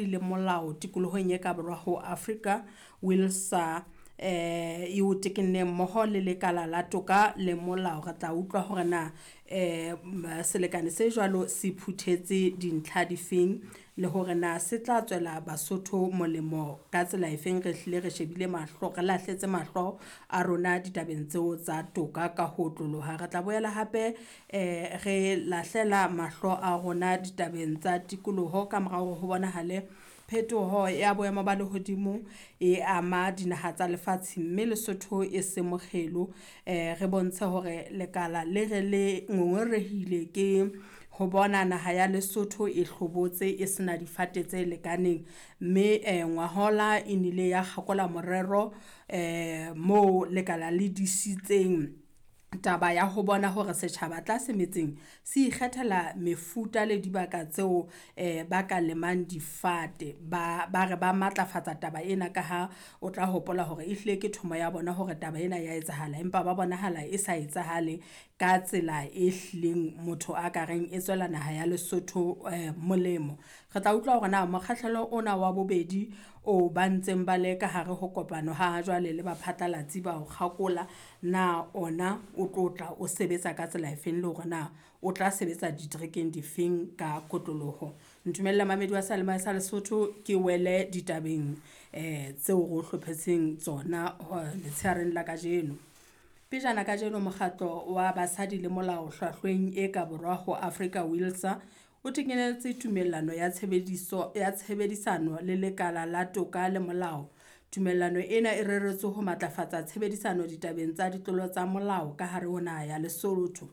Basadi le Molao tikolohong e ka borwa ho Afrika, WILSA, e o tekenne mmoho le lekala la toka le molao. Re tla utlwa hore na selekane se jwalo se phuthetse dintlha difeng le hore na se tla tswela Basotho molemo ka tsela efeng. Re hlile re shebile mahlo, re lahletse mahlo a rona ditabeng tseo tsa toka ka ho otloloha. Re tla boela hape re lahlela mahlo a rona ditabeng tsa tikoloho ka mora hore ho bonahale phetoho ya boemo ba lehodimo e ama dinaha tsa lefatshe, mme Lesotho e se mokgelo. Re bontshe hore lekala le re le ngongorehile ke ho bona naha ya Lesotho e hlobotse e sena difate tse lekaneng, mme ngwahola e nile ya kgakola morero moo lekala le disitseng taba ya ho bona hore setjhaba tlase metseng se ikgethela mefuta le dibaka tseo ba ka lemang difate. Ba re ba matlafatsa taba ena ka ha o tla hopola hore ehlile ke thomo ya bona hore taba ena ya etsahala, empa ba bonahala e sa etsahale ka tsela e hlileng motho a ka reng e tswela naha ya Lesotho molemo. Re tla utlwa hore na mokgahlelo ona wa bobedi o ba ntseng ba le ka hare ho kopano ha jwale le baphatlalatsi ba o kgakola, na ona o tlo tla o sebetsa ka tsela efeng le hore na o tla sebetsa diterekeng difeng ka kotloloho. Ntumelle mamedi wa seyalemoya sa Lesotho ke wele ditabeng tseo re o hlophetseng tsona letshehareng la kajeno. Pejana kajeno mokgatlo wa basadi le molao hlwahlweng e ka borwa ho Afrika WILSA o tekenetse tumellano ya tshebediso ya tshebedisano le lekala la toka le molao. Tumellano ena e reretswe ho matlafatsa tshebedisano ditabeng tsa ditlolo tsa molao ka hare ho naha ya Lesotho.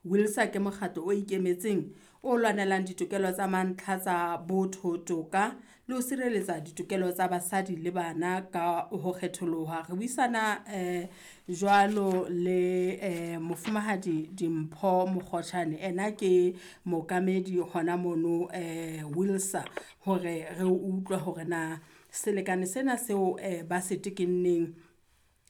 WILSA ke mokgatlo o ikemetseng o lwanelang ditokelo tsa mantlha tsa botho, toka le ho sireletsa ditokelo tsa basadi le bana ka ho kgetholoha. Re buisana jwalo le mofumahadi Dimpho Mokgoshane, ena ke mookamedi hona mono WILSA, hore re utlwe hore na selekane sena seo ba se tekenneng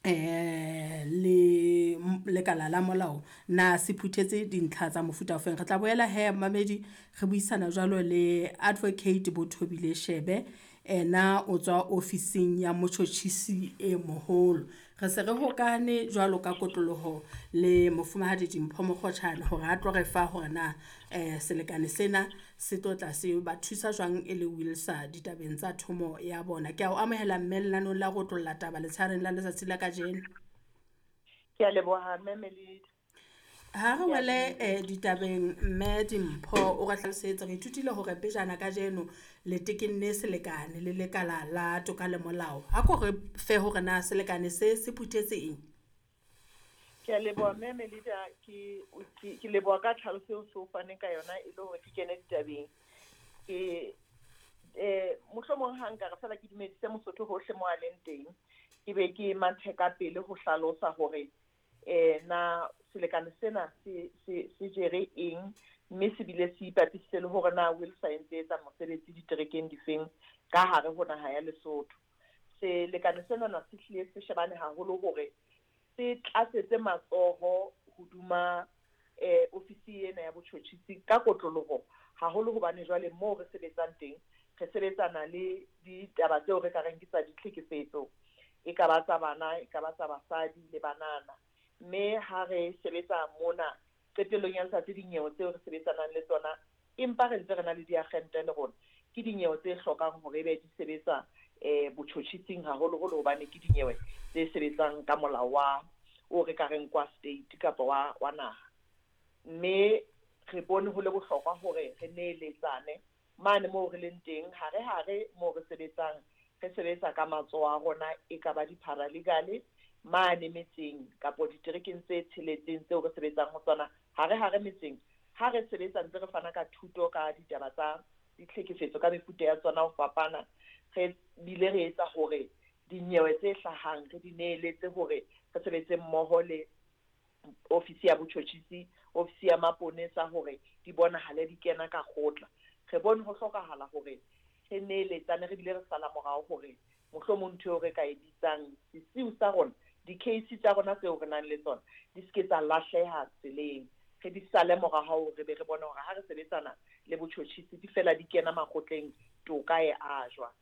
le lekala la molao na se phuthetse dintlha tsa mofuta ofeng. Re tla boela he mamedi re buisana jwalo le Advocate Bothobile Shebe, ena o tswa ofising ya motjhotjhisi e moholo. Re se re hokane jwalo ka kotloloho le mofumahadi Dimpho Mokgotjhane hore a tlo re fa hore na selekane sena se tlo tla se ba thusa jwang e le WILSA ditabeng tsa thomo ya bona. Ke a o amohela mme lenanong la ho otlolla taba letshehareng la letsatsi la kajeno. Ke a leboha mme Melida. Ha re wele ditabeng mme Dimpho, o re hlalosetse, re ithutile hore pejana kajeno le tekenne selekane le lekala la toka le molao. Ha ko re fe hore na selekane se se phuthetse eng? Ke a leboha mme Melida, ke leboha ka tlhaloso eo so faneng ka yona e le hore ke kene ditabeng. Ke mohlomong ha nka re fela ke dumedise Mosotho hohle mo a leng teng, ke be ke mathe ka pele ho hlalosa hore na selekane sena se jere eng, mme se bile se ipapisitse le hore na WILSA e ntse etsa mosebetsi diterekeng difeng ka hare ho naha ya Lesotho. Selekane sena na se hlile se shebane haholo hore se tlatsetse matsoho hoduma ofisi ena ya botjhotjhisi ka kotloloho, haholo hobane jwale moo re sebetsang teng re sebetsana le ditaba tseo re ka reng ke tsa ditlhekefetso, e ka ba tsa bana, e ka ba tsa basadi le banana. Mme ha re sebetsa mona qetellong ya letsatsi dinyewe tseo re sebetsanang le tsona, empa re ntse re na le diagente le rona, ke dinyewe tse hlokang hore ebe di sebetsa botjhotjhising haholoholo, hobane ke dinyewe tse sebetsang ka molao wa o re ka reng kwa state kapa wa naha. Mme re bone ho le bohlokwa hore re neeletsane mane moo re leng teng, hare-hare moo re sebetsang, re sebetsa ka matsoho a rona, e ka ba di-paralegal mane metseng kapo diterekeng tse tsheletseng tseo re sebetsang ho tsona, hare-hare metseng. Ha re sebetsa ntse re fana ka thuto ka ditaba tsa ditlhekefetso ka mefuta ya tsona ho fapana, re bile re etsa hore dinyewe tse hlahang re di neeletse hore re sebetse mmoho le ofisi ya botjhotjhisi, ofisi ya maponesa, hore di bonahale di kena ka kgotla. Re bone ho hlokahala hore re neeletsane, re bile re sala morao hore mohlomong ntho eo re ka e bitsang sesiu sa rona, di-case tsa rona tseo re nang le tsona di se ke tsa lahleha tseleng, re di sale morao, re be re bone hore ha re sebetsana le botjhotjhisi di fela di kena makgotleng toka e ajwa.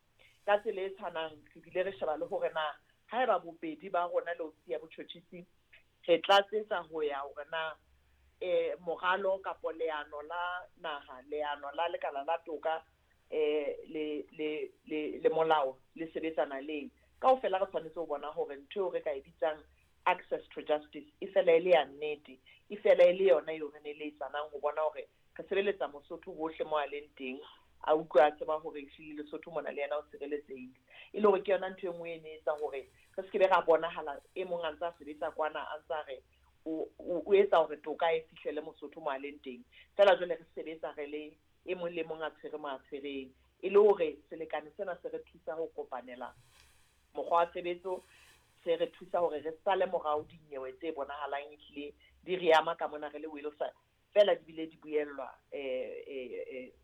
Ka tsela e tshwanang re bile re sheba le hore na haeba bobedi ba rona le ofisi ya botjhotjhisi re tlatsetsa ho ya hore na moralo kapo leano la naha, leano la lekala la toka le molao le sebetsana leng. Kaofela re tshwanetse ho bona hore ntho eo re ka e bitsang access to justice e fela e le ya nnete, e fela e le yona eo re neletsanang ho bona hore re sebeletsa Mosotho hohle mo a leng teng, a utlwe a tseba hore ehlile Lesotho mona le yena o sireletsehile. E le hore ke yona ntho e nngwe e ne etsa hore re se ke be ra bonahala e mong a ntse a sebetsa kwana a ntsa re o etsa hore toka e fihlele Mosotho mo a leng teng. Feela jwale re sebetsa re le e mong le mong a tshwere mo a tshwereng, e le hore selekane sena se re thusa ho kopanela mokgwa wa tshebetso, se re thusa hore re sale morao dinyewe tse bonahalang ehlile di re ama ka mona re le WILSA, fela di bile di buellwa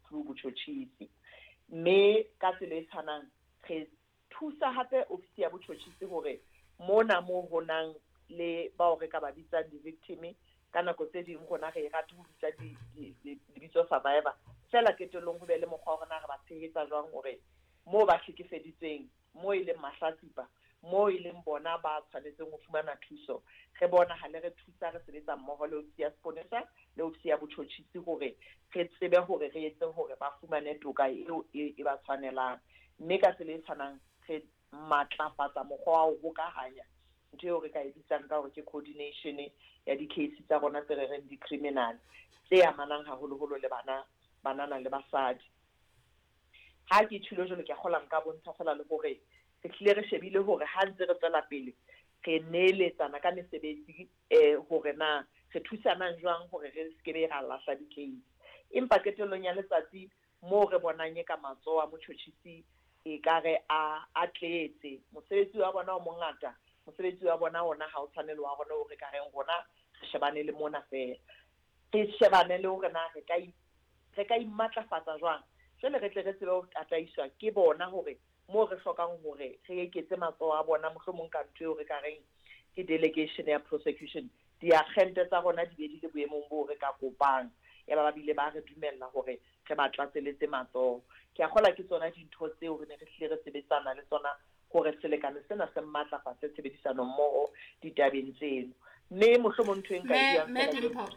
through botjhotjhisi. Mme ka tsela e tshwanang re thusa hape ofisi ya botjhotjhisi hore mona mo ho nang le bao re ka ba bitsang di-victim, ka nako tse ding rona re rate ho bitsa lebitso survivor, fela qetellong ho be le mokgwa wa rona re ba tshehetsa jwang hore moo ba hlekefeditsweng, moo e leng mahlatsipa, moo e leng bona ba tshwanetseng ho fumana thuso, re bonahale re thusa, re sebetsa mmoho le ofisi ya seponesa le ofisi ya botjhotjhisi hore re tsebe hore re etse hore ba fumane toka eo e ba tshwanelang. Mme ka tsela e tshwanang re matlafatsa mokgwa wa ho hokahanya ntho eo re ka e bitsang ka hore ke coordination ya di-case tsa rona tse re reng di-criminal, tse amanang haholoholo le bana, banana le basadi. Ha ke tjhilo jwalo, ke a kgola nka bontsha feela le hore re hlile re shebile hore ha ntse re tswela pele re neeletsana ka mesebetsi hore na re thusanang jwang hore re se ke be ra lahla di-case. Empa qetellong ya letsatsi moo re bonang e ka matsoho a motjhotjhisi e ka re a tletse, mosebetsi wa bona o mongata, mosebetsi wa bona ona ha o tshwane le wa rona o re ka reng rona re shebane le mona feela, re shebane le hore na re ka imatlafatsa jwang. Jwale re tle re tsebe ho tataiswa ke bona hore moo re hlokang hore re eketse matsoho a bona, mohlomong ka ntho eo re ka reng ke delegation ya prosecution, diakgente tsa rona di be di le boemong boo re ka kopang, ya ba bile ba re dumella hore re ba tlatseletse matsoho. Ke a kgola ke tsona dintho tseo re ne re hlile re sebetsana le tsona hore selekane sena se matlafatse tshebedisano mmoho ditabeng tseno. Mme mohlomong ntho e nka e buang feela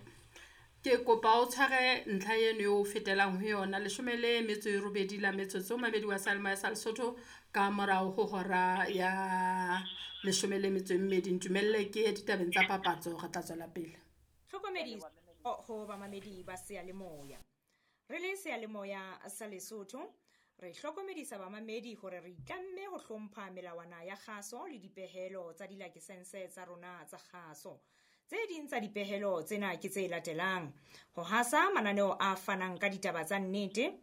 ke kopa o tshware ntlha eno eo o fetelang ho yona 18 la metsotso mabedi wa Salma sa Lesotho ka morao ho hora ya 12. Ntumelle ke ditabeng tsa papatso, re tla tswela pele. Tlhokomediso ho bamamedi ba seyalemoya. Re le seyalemoya sa Lesotho re hlokomedisa bamamedi hore re itlamme ho hlompha melawana ya kgaso le dipehelo tsa dilakesense tsa rona tsa kgaso. Tse ding tsa dipehelo tsena ke tse latelang: ho hasa mananeo a fanang ka ditaba tsa nnete,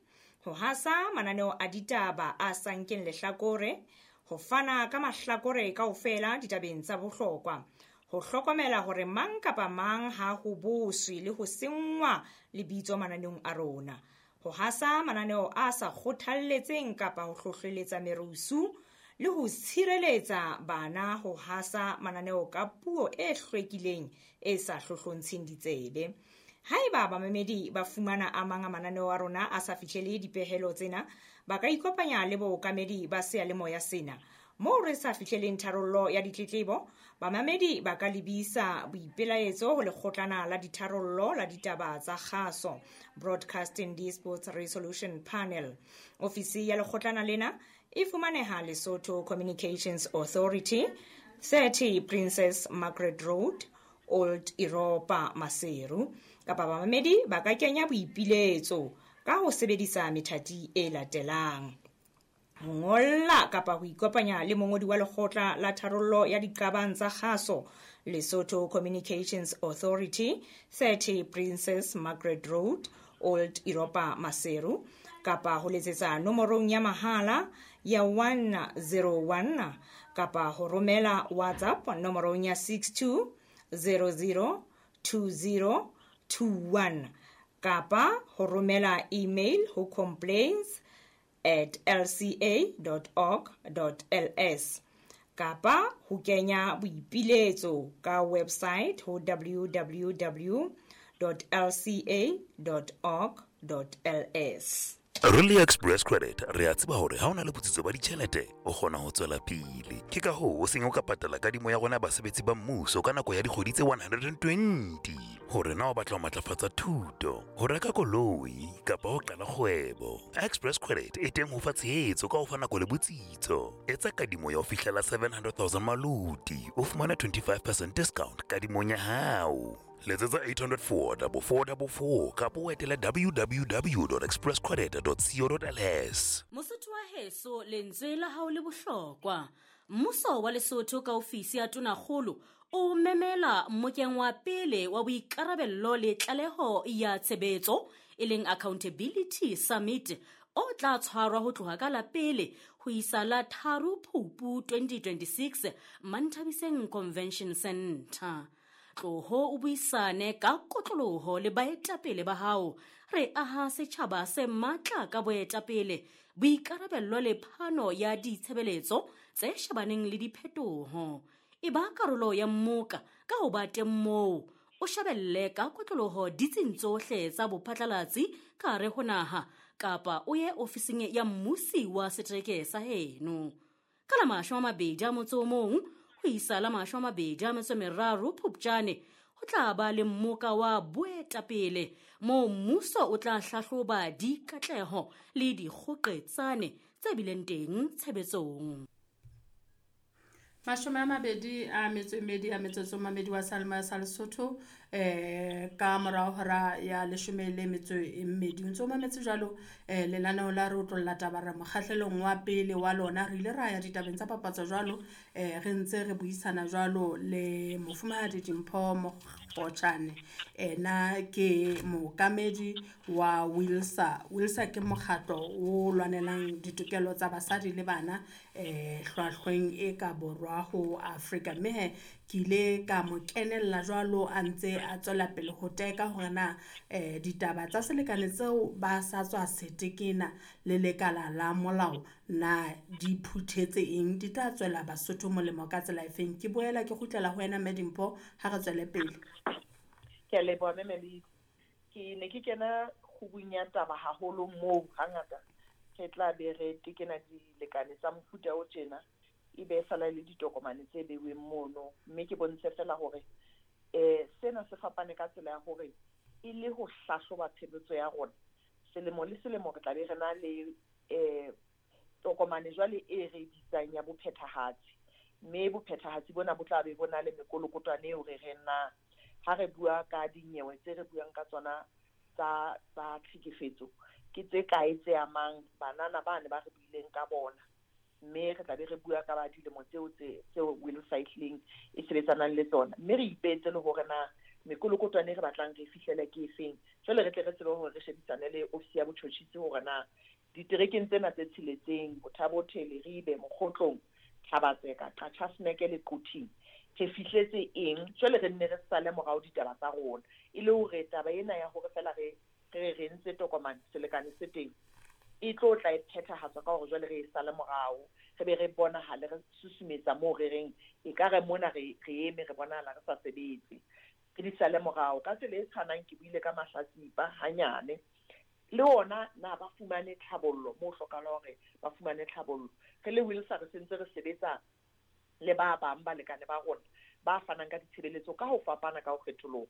ho hasa mananeo a ditaba a sa nkeng lehlakore, ho fana ka mahlakore kaofela ditabeng tsa bohlokwa, ho hlokomela hore mang kapa mang ha ho boswe le ho senngwa lebitso mananeong a rona, ho hasa mananeo a sa kgothalletseng kapa ho hlohleletsa merusu, le ho tshireletsa bana ho hasa mananeo ka puo e hlwekileng e sa hlohlontsheng ditsebe. Haeba bamamedi ba fumana a mang a mananeo a rona a sa fihlele dipehelo tsena, ba ka ikopanya le bookamedi ba seyalemoya sena. Moo re sa fihleleng tharollo ya ditletlebo, bamamedi ba ka lebisa boipelaetso ho lekgotlana la ditharollo la ditaba tsa kgaso, Broadcasting Disputes Resolution Panel. Ofisi ya lekgotlana lena e fumaneha Lesotho Communications Authority, 30 Princess Margaret Road, Old Europa, Maseru. Kapa bamamedi ba ka kenya boipiletso ka ho sebedisa methati e latelang: ho ngolla kapa ho ikopanya le mongodi wa lekgotla la tharollo ya diqabang tsa kgaso, Lesotho Communications Authority, 30 Princess Margaret Road, Old Europa, Maseru, kapa ho letsetsa nomorong ya mahala ya 101 kapa ho romela WhatsApp nomorong ya 62002021 kapa ho romela email ho complaints@lca.org.ls kapa ho kenya boipiletso ka website ho www.lca.org.ls. Re le Express Credit re a tseba hore ha o na le botsitso ba ditjhelete o kgona ho tswela pele. Ke ka hoo o seng o ka patala kadimo ya rona basebetsi ba mmuso ka nako ya dikgwedi tse 120. Hore na o batla ho matlafatsa thuto, ho reka koloi kapa ho qala kgwebo. Express Credit e teng ho fa tshehetso ka ho fa nako le botsitso. Etsa kadimo ya ho fihlela 700,000 maluti, o fumane 25% discount kadimong ya hao. Letsetsa 804 4444 kapa o etele www.expresscredit.co.ls. Mosotho wa heso, lentswe la hao le bohlokwa. Mmuso wa Lesotho ka ofisi ya Tonakgolo o memela mmokeng wa pele wa boikarabello le tlaleho ya tshebetso, e leng Accountability Summit, o tla tshwarwa ho tloha ka la pele ho isa la 3 Phupu 2026 Manthabiseng Convention Center. Tloho o buisane ka kotloloho le baetapele ba hao. Re aha setjhaba se matla ka boetapele, boikarabello le phano ya ditshebeletso tse shebaneng le diphetoho. E ba karolo ya mmoka ka ho ba teng moo, o shebelle ka kotloloho ditsing tsohle tsa bophatlalatsi ka hare ho naha, kapa o ye ofising ya mmusi wa setereke sa heno. Ka la 21 ho isa la 23 Phupjane, ho tla ba le mmoka wa boetapele moo mmuso o tla hlahloba dikatleho le dikgoqetsane tse bileng teng tshebetsong. 22 a metsotso mamedi wa Salma sa Lesotho, ka morao hora ya 12. O ntso mametse jwalo lenaneo la re otlolla taba re mokgahlelong wa pele wa lona. Re ile ra ya ditabeng tsa papatso jwalo, re ntse re buisana jwalo le mofumahadi Dimpho Mokgotjane. Ena ke mookamedi wa WILSA. WILSA ke mokgatlo o lwanelang ditokelo tsa basadi le bana hlwahlweng e ka borwa ho Afrika. Mme he ke ile ka mo kenella jwalo a ntse a tswela pele ho teka hore na ditaba tsa selekane tseo ba sa tswa setekena le lekala la molao na di phuthetse eng, di tla tswela Basotho molemo ka tsela efeng. Ke boela ke kgutlela ho wena Mme Dimpho ha re tswele pele. Ke a leboha Mme Melidi. Ke ne ke kena kgubung ya taba haholo moo hangata re tla be re tekena dilekane tsa mofuta o tjena, e be fela le ditokomane tse beuweng mono. Mme ke bontshe fela hore sena se fapane ka tsela ya hore e le ho hlahloba tshebetso ya rona. Selemo le selemo re tla be re na le tokomane jwale e re bitsang ya bophethahatsi. Mme bophethahatsi bona bo tla be bo na le mekolokotwane eo re reng na ha re bua ka dinyewe tse re buang ka tsona tsa tlhekefetso, ke tse kae tse amang banana bane ba re buileng ka bona. Mme re tla be re bua ka ba dilemo tseo tseo WILSA ehlileng e sebetsanang le tsona. Mme re ipetse le hore na mekolokotwane e re batlang re fihlele ke efeng. Jwale re tle re tsebe hore re shebisane le ofisi ya botjhotjhisi hore na diterekeng tsena tse tsheletseng, Botha-Bothe, Leribe, Mokgotlong, Thabatseka, Qachaseneke le Quthing, re fihletse eng. Jwale re nne re sale morao ditaba tsa rona, e le hore taba ena ya hore fela re re ntse tokomane selekane se teng e tlo tla e phethahatswa ka hore jwale re e sale morao, re be re bonahale re susumetsa moo re reng e ka re mona re eme re bonahala re sa sebetse, re di sale morao. Ka tsela e tshwanang ke buile ka mahlatsipa hanyane, le ona na ba fumane tlhabollo moo hlokahala hore ba fumane tlhabollo. Re le WILSA re sentse re sebetsa le ba bang balekane ba rona ba fanang ka ditshebeletso ka ho fapana ka ho kgetholoha.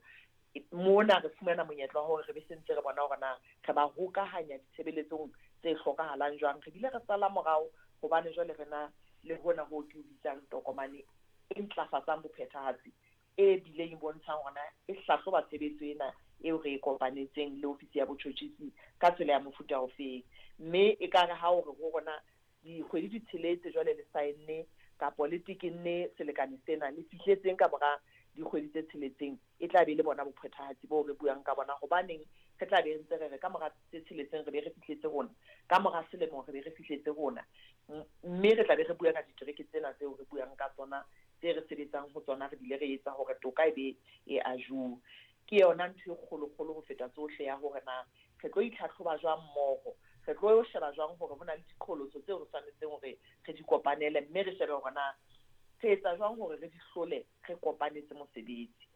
Mona re fumana monyetla wa hore re be sentse re bona hore na re ba hokahanya ditshebeletsong tse hlokahalang jwang. Re bile re sala morao hobane jwale re na le hona ho ke o bitsang tokomane e ntlafatsang bophethahatsi, e bileng e bontshang hore na e hlahloba tshebetso ena eo re e kopanetseng le ofisi ya botjhotjhisi ka tsela ya mofuta ofeng. Mme ekare ha o re ho rona dikgwedi di tsheletse jwale le saenne kapo le tekenne selekane sena, le fihletseng ka mora dikgwedi tse tsheletseng, e tla be le bona bophethahatsi boo re buang ka bona. Hobaneng re tla be ntse re re ka mora tse tsheletseng re be re fihletse rona, ka mora selemo re be re fihletse rona, mme re tla be re bua ka ditereke tsena tseo re buang ka tsona tse re sebetsang ho tsona, re bile re etsa hore toka e be e ajuwe. Ke yona ntho e kgolokgolo ho feta tsohle ya hore na re tlo itlhatlhoba jwang mmoho, re tlo sheba jwang hore ho na le diqholotso tseo re tshwanetseng hore re di kopanele, mme re shebe hore na re etsa jwang hore re di hlole re kopanetse mosebetsi.